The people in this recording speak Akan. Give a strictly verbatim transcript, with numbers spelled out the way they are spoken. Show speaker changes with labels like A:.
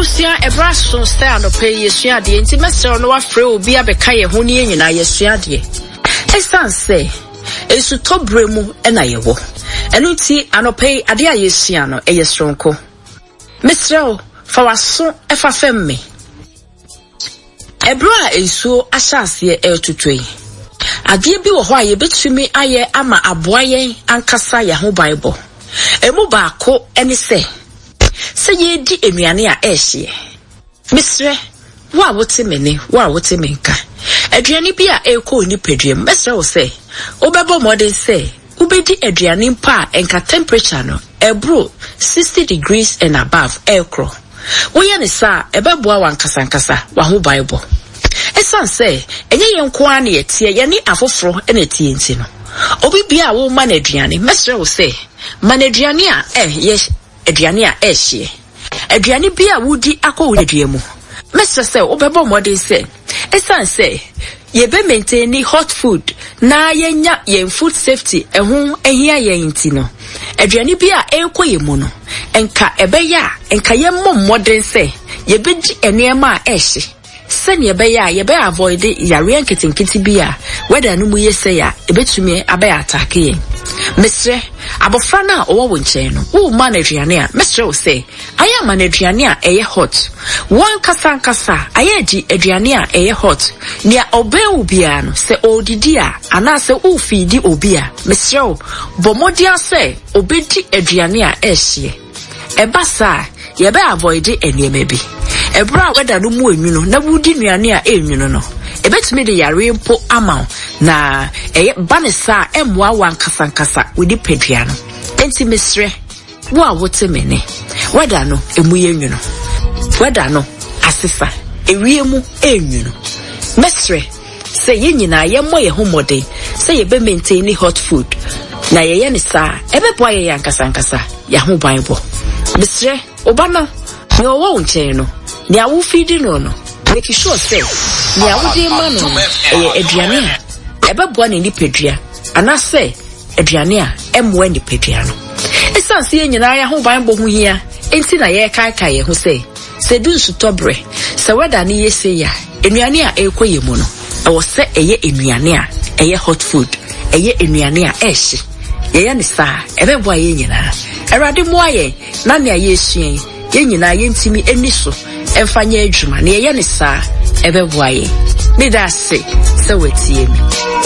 A: Abusua, ɛberɛ aso sɛ anɔpa yi yɛsua adeɛ, nti mɛsrɛ wo na wafrɛ obi abɛka yɛn ho ne yɛn nyinaa yɛsua adeɛ. Ɛsiane sɛ nsutɔ berɛ mu na yɛwɔ, ɛno nti anɔpa yi adeɛ a yɛsua no ɛyɛ soronko. Mesrɛ wo, fa w'aso fa fam me. Ɛberɛ a nsuo ahyɛ aseɛ ɛretotɔ yi, adeɛ bi wɔ hɔ a yɛbɛtumi ayɛ ama aboa yɛn ankasa yɛn ho banbɔ. Emu baako ne sɛ, sɛ yɛredi nnuane a ɛrehyeɛ. Mesrɛ wo a wote me ne wo a wote me nka, aduane bi a ɛrekɔ wo nipadua mu, mɛsrɛ wo sɛ wobɛbɔ mmɔden sɛ wobɛdi aduane mpo a ɛnka temperature no ɛboro sixty degrees and above ɛrekorɔ. Woyɛ ne saa a, ɛbɛboa w'ankasankasa w'ahobanbɔ. Ɛsiane sɛ ɛnyɛ yɛn nko ara na yɛteɛ, yɛne afoforɔ na ɛteɛ nti no, obi bia a woma no aduane, mɛsrɛ wo sɛ ma no aduane a ɛyɛ aduane a ɛrehyeɛ. Aduane bi a wodi akɔ wo nipadua mu, mɛsrɛ sɛ wobɛbɔ mmɔden sɛ ɛsiane sɛ yɛbɛ maintain hot food na yɛnya yɛn food safety ɛho ahia yɛn nti no, aduane bi a ɛrekɔ yɛn mu no, nka ɛbɛyɛ a nka yɛmmɔ mmɔden sɛ yɛbɛdi nneɛma a ɛrehye, sɛnea ɛbɛyɛ a yɛbɛ avoid yareɛ nketenkete bi a weather no mu yɛ sɛ a ɛbɛtumi abɛyɛ attack yɛn. Mesrɛ abɔfra no a ɔwɔ wo nkyɛn no, woma no aduane a, mɛsrɛ wo sɛ ayɛ ama no aduane a ɛyɛ hot. Wɔn ankasa ankasa ayɛ di aduane a ɛyɛ hot. Nea ɔbɛn wo biara no, sɛ ɔredidi a anaasɛ wofeedi obi a, mesrɛ wo bɔ mmɔden sɛ obɛdi aduane a ɛrehyeɛ. Ɛba saa, yɛbɛ avoid nneɛma bi. Ɛberɛ a weather no mu enwunu na wodi nnuane a ɛnwunu no, ɛbɛtumi de yare mpo ama wo, na ɛyɛ ba ne saa ɛmmoa wo ankasa ankasa wo nipadua no. Enti mesrɛ wo a wote me ne, weather no emu yɛ nwunu, weather no asesa, ewie mu ɛnwunu. Mesrɛ sɛ yɛn nyinaa yɛmmɔ yɛn ho mmɔden sɛ yɛbɛ maintain hot food, na yɛyɛ ne saa, ɛbɛboa yɛn ankasa ankasa yɛn ho banbɔ. Mesrɛ ɔba no, nea ɔwɔ wo nkyɛn no, nea wofeedi no no, make sure sɛ nea wode ma no no ɛyɛ aduane a ɛbɛboa ne nipadua anaasɛ aduane a ɛmmoa nipadua no. Ɛsiane sɛ yɛn nyinaa yɛn ho banbɔ ho hia nti na yɛrekaekae yɛn ho sɛ sɛ du nsutɔ berɛ, sɛ weather no yɛ sei a, nnuane a ɛrekɔ yɛn mu no, ɛwɔ sɛ ɛyɛ nnuane a ɛyɛ hot food, ɛyɛ nnuane a ɛrehye. Yɛyɛ ne saa, ɛbɛboa yɛn nyinaa. Awurade mmoa yɛn na nea yɛresua yi, yɛn nyinaa yɛntumi ani so ɛmfa nyɛ adwuma. Na yɛyɛ ne saa, ɛbɛboa yɛn. Meda ase sɛ watie me.